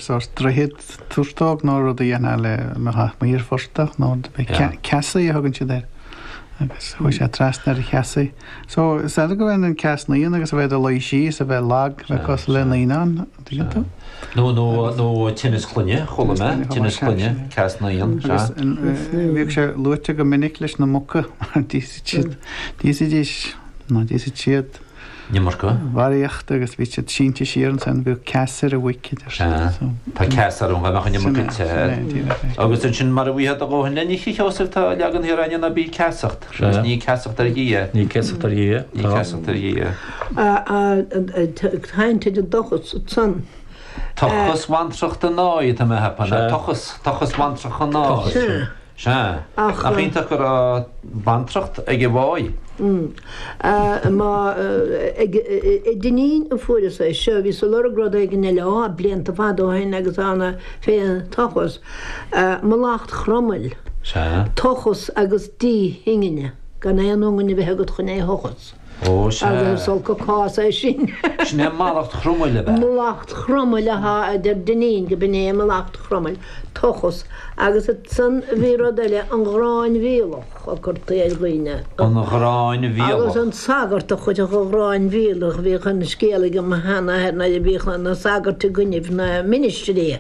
sórt droichead turtóg nó rud a dhéanfá le mbeadh amuigh ar phortach nó rud ar bith. Ceasaí a thugann siad air. Agus chuaigh sé trasna ar cheasaí. So, is eile go bhféadfainn an ceas naíon agus a bheith i do luí síos, a bheith lag, a bheith cosúil le naíonán, an dtuigeann tú? Nó, nó, nó tinneas clainne, chuala mé, tinneas clainne, ceas naíon, sea. Agus bhíodh sé luaite go minic leis na muca mar d'íosfaidís, d'íosfaidís, nó d'íosfadh siad, An iomarca. Barraíocht agus bhí siad sínte siar ansan, bhíodh ceas ar an mhuic, a deir siad. Sea, tá ceas orm, dá mbeadh an iomarca ite air. Agus ansin mara bhfaighfeá do dhóthain le n-ithe, a Sheosaimh, tá leagan thiar againne ná bí ceasacht. Agus ní ceasacht ar Dhia. Ní ceasacht ar Dhia. Ní ceasacht ar Dhia. Caint ar an dtochas ansan. Tochas bhantracht an áidh atá mé a cheapadh, ná tochas, tochas bhantracht an áidh. Sea. Nach iontach go raibh bantracht ag an Mháigh? Má, ag Dinneen a fuaireas é seo, bhíos ag lorg rud éigin eile, á, blianta fada ó shin agus ann fén tochas, mallacht Chromail. Sea. Tochas agus díth ingne, gan aon iongain a bheith agat chun é a thochas. Ó, sea. Agus is olc an cás é sin. Sin é mallacht Chromail, ab ea? Mallacht Chromail atá, a deir Dinneen, go b'in é mallacht Chromail, tochas. Agus ansan bhí rud eile, an ghráin mhíolach a cuirtí ar dhaoine. An ghráin mhíolach. Agus an sagart a chuirfeadh an ghráin mhíolach, bhíodh an scéal ag mo sheanathair nuair a bhíodh na sagairt i gcoinnibh na ministrí.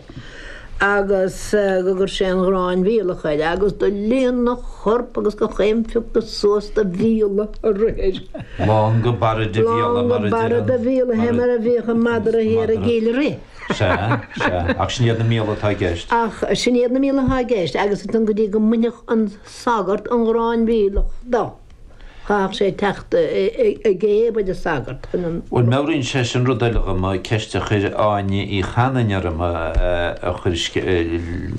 agus go gcuir sé an ghráin mhíolach air, agus do líon a chorp agus gach aon phioc suas de mhíola ag rith air. Lán go barra de mhíola, mar a deir an. Lán go barra de mhíola, fé mar a bhíodh an madra thiar i gCill Rith. Sea, sea, ach sin iad na míola atá i gceist. Ach sin iad na míola atá i gceist, agus ansan go dtí go mbainfeadh an sagart an ghráin mhíolach do. Chaithfeadh sé teacht i gcéibh ar an sagart chun an. Bhuel, meabhraíonn sé sin rud eile dhom, ceist a chuir Áine Uí Chanainn orm, a chuir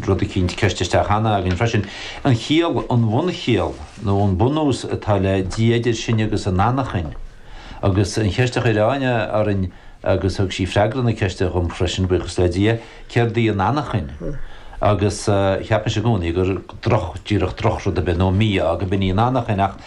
rud eicínt, ceist isteach cheana againn freisin. An chiall, an bhunchiall, nó an bunús atá le Dia idir sinn agus an anachain. Agus an cheist a chuir Áine orainn, agus thug sí freagra na ceiste dhom freisin, buíochas le Dia, céard í an anachain? Agus cheap mise i gcónaí gur droch, díreach drochrud ar bith, nó mí-ádh, go b'in í an anachain, ach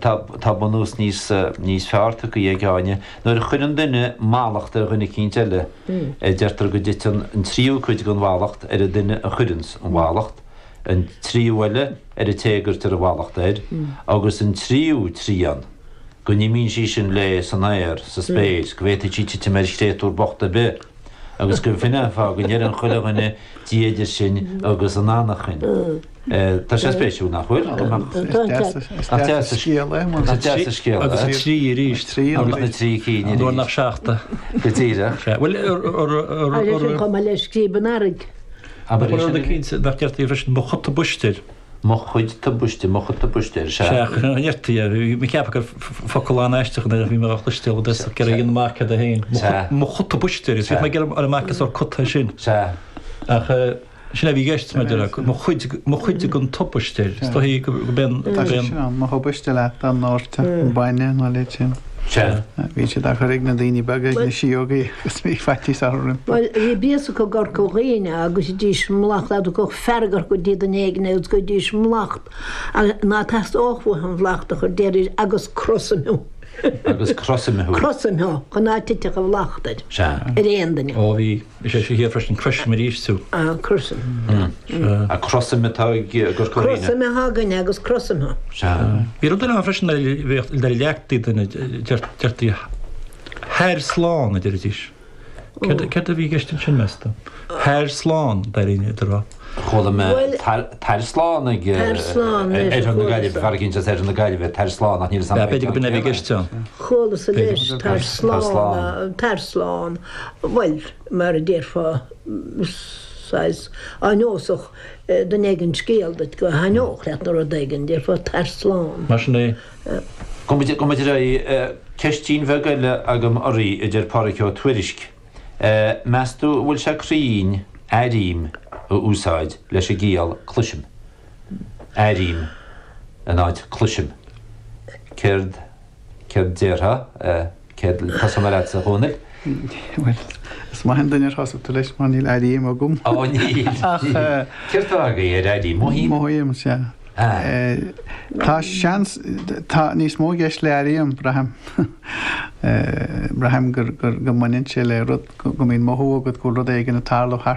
tá, tá bunús níos, níos fearr tugtha ag Áine. Nuair a chuireann duine mallacht ar dhuine eicínt eile, deirtear go dtiteann an tríú cuid den mhallacht ar an duine a chuireanns an mhallacht, an tríú eile ar an té a gcuirtear an mhallacht air, agus an tríú trian, go n-imíonn sí sin léi san aer, sa spéir, go bhféadfaidh sí titim ar chréatúr bocht ar bith, agus go b'shin é an fáth go ndeireann chuile dhuine Dia idir sinn agus an anachain. Tá sé spéisiúil, nach bhfuil? Is deas an scéal é. Is deas an scéal é. Agus na trí arís. Agus na trí cinn arís. Nuair nach seachta. Go díreach. Bhuel, Agus sin chomh maith le scríob an earraigh. Abair é sin arís. Nach deirtí freisin, mo chuid tubaiste. Mo chuid tubaiste, mo chuid tubaiste, ar sea. Sea, an ndeirtí é. Bhí mé ag ceapadh gur focal an-aisteach é, bhí mé á chloisteáil i dtosach, ag iarraidh a dhéanamh amach céard é féin. Mo chuid tubaiste, agus bhí mé ag iarraidh a fháil amach cén sórt cut é sin. Sea. Ach sin é a bhí i gceist, mar a déarfá, mo chuid, mo chuid den tubaiste. Is dóichí go b'é an. Tá sé sin ann, mo thubaiste leat dá ndóirteadh bainne nó a leithéid sin. Sea. Bhí siad á chur ag na daoine beaga, ag na síógaí agus bhí faitíos orthu rompu. Bhuel, bhí béas acu i gCorca Dhuibhne agus dís mallacht dá dtiocfadh fearg orthu go dtí duine éigin agus go dtís mallacht ná teastódh uathu an mhallacht a chur déarfaidís agus crosaim thú. Agus crosaim thú. Crosaim thú chun ná titfeadh an mhallacht air. Sea. Ar aon duine. Ó bhí. Is é seo thiar freisin croisim arís tú. Ah, crosaim. Sea. Ah, crosaim atá i gCorca Dhuibhne. Crosaim atá againne agus crosaim thú. Sea. Bhí rud eile ann freisin a bhíodh le leagtaí duine, deirtí thair slán a deiridís. Céard a bhí i gceist ansin, meas tú? Thair slán, dáiríre, a rá. Chuala mé tar slán ag Oirthear na Gaillimhe, fear eicínt as Oirthear na Gaillimhe, tar slán, ach níl 'fhios a'm. B'fhéidir go b'in é a bhí i gceist ann. Chualas leis, tar slán, tar slán. Bhuel, mar a déarfá, saghas áineosach, duine éigin scéal duit go thaitneodh leat nó rud éigin, déarfá tar slán. Mar sin é. Gabhfaidh muid ar aghaidh. Ceistín bheag eile agam oraibh, a deir Pádraig Ó Tuairisg. Meas tú an bhfuil sé cruinn airím a úsáid leis an gciall cloisim? Airím in áit cloisim. Céard. Céard déarfá? Céard, tosóidh mé leatsa, a Dhónaill. Bhuel, is maith an duine ar thosaigh tú leis mar níl airím agam. Ó, níl. Ach. Céard tá agaibh ar airím? Mothaím? Mothaím, sea. Tá seans, tá níos mó i gceist le airím, braithim. Braithim gur, go mbaineann sé le rud, go mbíonn mothú agat go bhfuil rud éigin ag tarlú thart.